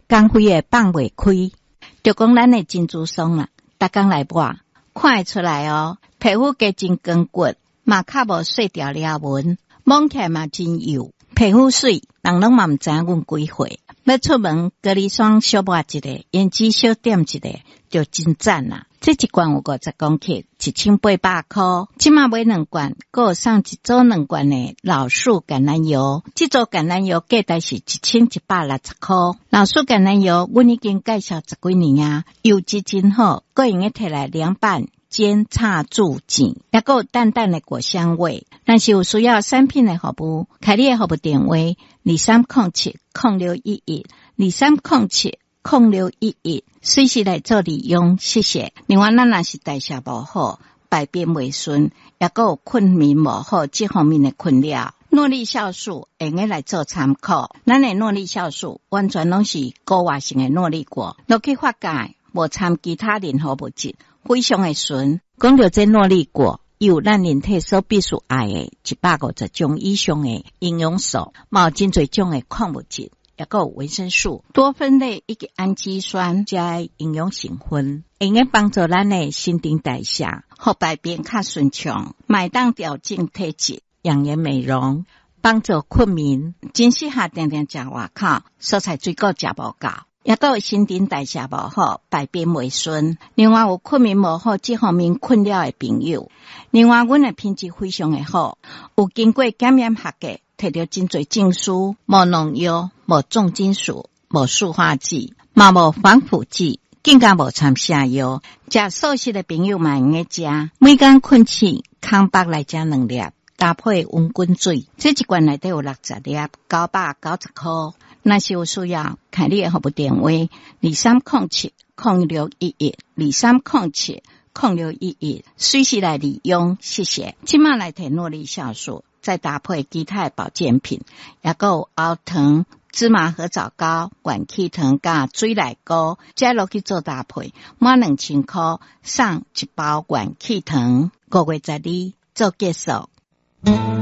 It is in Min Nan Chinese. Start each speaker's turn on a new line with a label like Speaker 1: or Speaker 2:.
Speaker 1: 工費會放袂開。就講咱的珍珠霜啦，逐工來抹，看會出來哦，皮膚加真光滑，嘛較無細條裂紋，摸起來嘛真幼，皮膚媠，人攏嘛毋知影阮幾歲。欲出門，隔離霜小抹一下，胭脂小點一下，就真讚啦。這一罐有50公克，1800箍。這馬買兩罐，閣送一組兩罐的老樹橄欖油。這組橄欖油價值是1160箍。老樹橄欖油，阮已經介紹十幾年啊，油質真好，閣會用摕來涼拌、煎、炒、煮、煎，抑閣有淡淡的果香味。若是有需要產品的服務，開你的服務電話：23070611，23070611，隨時來做利用，謝謝。另外，咱若是代謝無好、排便袂順，抑閣有睏眠無好這方面的困擾，諾麗酵素會用來做參考。咱的諾麗酵素完全攏是高活性的諾麗果，落去發酵，無摻其他任何物質，非常的純。講著這諾麗果，有咱人體所必須愛的150種以上的營養素，嘛有真濟種的礦物質，抑閣有維生素、多酚類以及氨基酸遮營養成分，會用幫助咱的新陳代謝，予排便較順暢，嘛會當調整體質、養顏美容，幫助睏眠，真適合定定食外口蔬菜水果食無夠，抑閣有新陳代謝無好、排便袂順，另外有睏眠無好這方面困擾的朋友，另外阮的品質非常的好，有經過檢驗合格，摕著真濟證書，無農藥、無重金屬、無塑化劑，嘛無防腐劑，更加無摻瀉藥。食素食的朋友嘛會用食，每工睏醒，空腹來食兩粒，搭配溫滾水，這一罐內底有60粒，990箍。若是有需要，開你的服務電話：23070611，23070611，隨時來利用，謝謝。這馬來提諾麗酵素，再搭配其他的保健品，抑閣有喉糖、芝麻核棗糕、元氣糖佮水內膏，這落去做搭配，滿2000箍送一包元氣糖。5月12做結束。